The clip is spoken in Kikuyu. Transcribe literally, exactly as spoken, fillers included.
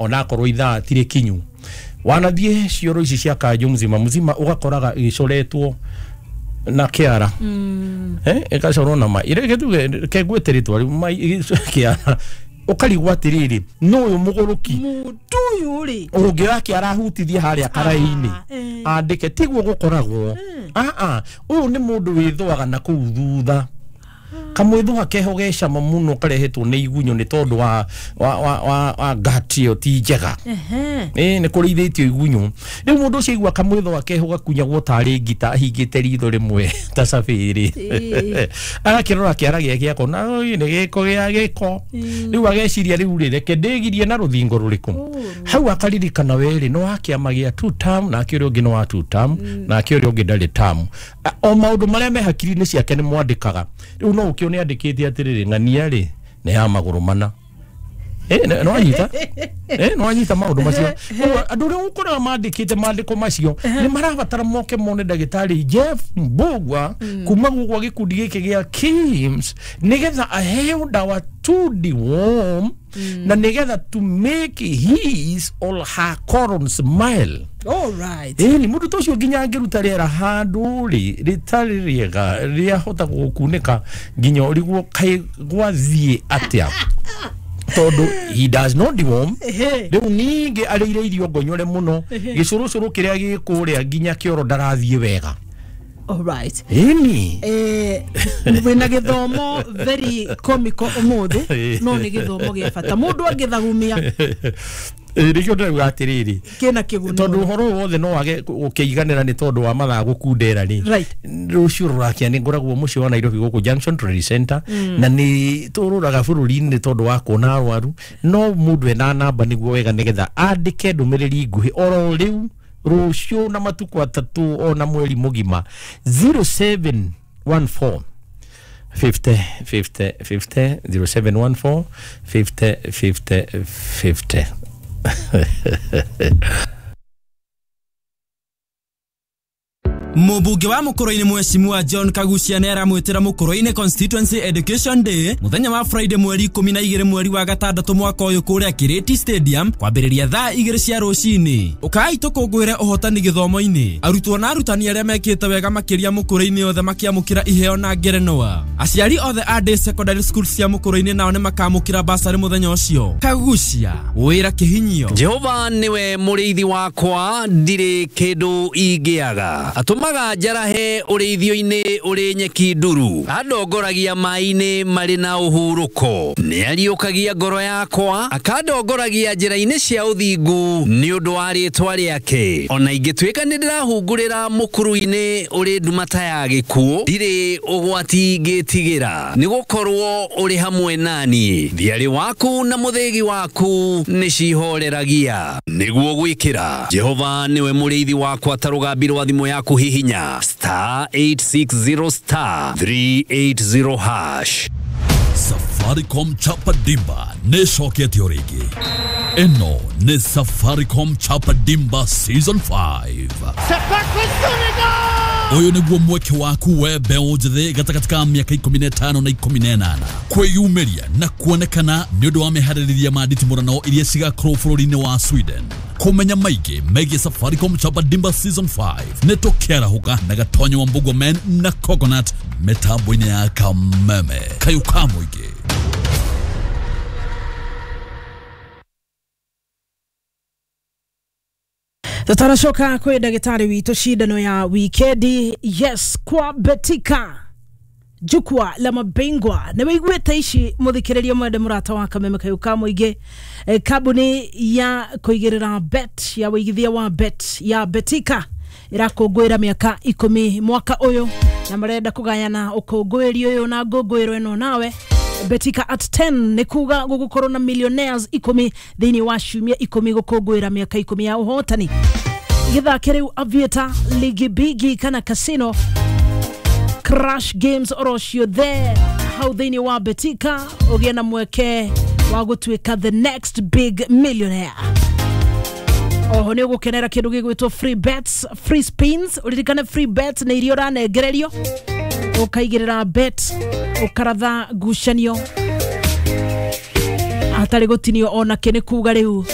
Onakorwo ithaa tirĩ kinyu, wanathiĩ cioro ici cia kanjũ mzima mzima, ũgakoraga ĩcoretwo na kĩara, eh ĩgacorwo na ma ire gĩtuge kengwĩte rĩtwa rĩu mai kĩara, ũkarigwo atĩrĩrĩ, no ũyũ mũgũrũki Mũndũ ũyũ rĩ, ũngĩ arahutithia harĩa karaĩ-inĩ eh. andĩke tiguo gũkoragwo. Aa, ũyũ nĩ mũndũ wĩthũaga na kũu thutha, kamwĩthũa keho ge cama mũno karehetwo nĩ igunyũ, nĩ tondũ wa wa wa wa, wa gut ĩyo ti njega. Ehe. Ĩ nĩ kũrĩithĩtio igunyũ. Rĩu mũndũ ũcio aigua kamwĩthũa keho gakunyagwo tarĩ ngita, ahingĩte ritho rĩmwe ta cabĩrĩ, Ĩĩ. agakĩrora kĩara gĩake akona, "Oi, nĩ gĩko gĩa gĩko." Rĩu ageciria, rĩu rĩ, reke ndĩgirie na rũthingo rũrĩkũ hau. Akaririkana werĩ nĩ wa kĩama gĩa two term, nake ũrĩa ũngĩ nĩ wa two term, nake ũrĩa ũngĩ ndarĩ term. A- o maũndũ marĩa me hakiri-inĩ ciake nĩ mwandĩkaga. Rĩu no ũkĩone andĩkĩte atĩrĩrĩ, ng'ania rĩ nĩ ya magũrũ mana. Eh, nĩ wanyita, eh nĩ wanyita maũndũ macio. Koguo andũ arĩa ũkoraga mandĩkĩte mandĩko macio nĩ marabatara moke mone ndagĩtarĩ Jeff Mbugua kuma gwa gĩkundi gĩkĩ gĩa KIMS, nĩgetha aheo ndawa to deworm na nĩgetha to make his or her colon smile. All right. Ĩni mũndũ ta ũcio nginya angĩruta rĩera handũ rĩ rĩtarĩ rĩega, rĩahota gũkunĩka nginya ũrigwo kaĩ gwathiĩ atĩa, tondũ he does not deworm. Ehe. Rĩu ningĩ arĩire irio ngonyore mũno, gĩcũrũcũrũ kĩrĩa gĩ kũrĩa nginya kĩoro ndarathiĩ wega. All right. Ĩni. Eh, wĩna gĩthomo very comical ũmũthĩ, no nĩ gĩthomo gĩa bata mũndũ angĩthagumia. Nĩkĩo ndĩrauga atĩrĩrĩ, kĩna kĩguni. Tondũ ũhoro ũyũ wothe no wage gũkĩiganĩra nĩ tondũ wa mathaa gũkundera rĩ, Right. rũciũ rũrakia nĩ ngoragwo mũciĩ wa Nairobi gũkũ Junction Trade Center, na nĩ tũrũraga bũrũri-inĩ tondũ wa kuona arwaru. No mũndũ ena namba nĩguo wega, nĩgetha andĩke ndũmĩrĩri nguhĩ oro rĩu, rũciũ na matukũ atatũ ona mweri mũgima: zero seven one four fifty fifty fifty, zero seven one four fifty fifty fifty. Mũmbunge wa Mũkũrũ-inĩ Mheshimiwa John Kagucia nĩ aramwĩtĩra Mũkũrũ-inĩ Constituency Education Day mũthenya wa Friday, mweri ikũmi na igĩrĩ, mweri wa gatandatũ, mwaka ũyũ, kũrĩa Kirĩti Stadium, kwambĩrĩria thaa igĩrĩ cia rũcinĩ. Ũkai tũkũngũĩre ũhotani gĩthomo-inĩ, arutwo na arutani arĩa mekĩte wega makĩria Mũkũrũ-inĩ othe makĩamũkĩra iheo na ngerenwa. Aciari othe a day secondary school cia Mũkũrũ-inĩ nao nĩ makamũkĩra basarĩ mũthenya ũcio. Kagucia wĩra kĩhinyio. Jehova niwe mũrĩithi wakwa, ndirĩ kĩndũ ingĩaga. Atũmaga njarahe ũrĩithio-inĩ ũrĩ nyeki nduru, andongoragia maĩ-inĩ marĩ na ũhurũko. Nĩ ariũkagia ngoro yakwa, akandongoragia njĩra-inĩ cia ũthingu nĩ ũndũ wa rĩĩtwa rĩake. Ona ingĩtuĩka nĩ ndĩrahungurĩra mũkuru-inĩ ũrĩ nduma ta ya gĩkuũ, ndirĩ ũgwati ingĩtigĩra, nĩ gũkorwo ũrĩ hamwe naniĩ. Thiarĩ waku na mũthĩgi waku nĩ cihoreragia. Nĩguo gwĩkĩra Jehova nĩwe mũrĩithi wakwa ta rũgambi rwa thimũ yaku, hihinya star eight six zero star three eight zero hash. Safaricom Chapa Dimba nĩ ĩcoketio rĩngĩ. Ĩno nĩ Safaricom Chapa Dimba Season five. Ũyũ nĩguo mweke waku we mbeũ njĩthĩ gatagatĩ ka mĩaka ikũmi na ĩtano na ikũmi na ĩnana kwĩyumĩria na kuonekana nĩ ũndũ wa meharĩrĩria ma nditimũrano iria cigakorwo bũrũri-inĩ wa Sweden. Kũmenya maingĩ megiĩ Safaricom Chapa Dimba Season five nĩ tũkĩarahũka na Gatonyo wa Mbugua Men na Coconut mĩtambo-inĩ ya Kameme kayũ ka mũingĩ. Tutaracoka kwĩ ndagĩtarĩ witũ cindano ya wikendi. Yes, kwa Betika, jukwaa la mabingwa. Nĩ wĩiguĩte ici, mũthikĩrĩria mwende, mũrata wa Kameme kayũ ka mũingĩ. Eh, kambuni ya kũigĩrĩra bet, ya wĩigithia wa bet ya Betika ĩrakũngũĩra mĩaka ikũmi mwaka ũyũ, na marenda kũgayana ũkũngũĩri ũyũ na ngũngũĩro ĩno nawe. Betika at ten nĩ kuga gũgũkorwo na millionaires ikũmi thĩinĩ wa ciumia ikũmi gũkũngũĩra mĩaka ikũmi ya ũhotani. Gĩthake rĩu Aviator, Ligi Bigi kana Casino Crash games oro ciothe hau thĩinĩ wa Betika, ũgĩe na mweke wa gũtuĩka the next big millionaire. Oho nĩ ũgũkenera kĩndũ gĩgwĩtwo free bets, free spins. Ũririkane free bets nĩ iria ũranengererio, ũkaigĩrĩra bet, ũkaratha ngucanio hatarĩ gũtinio ona kĩ. Nĩ kuga rĩu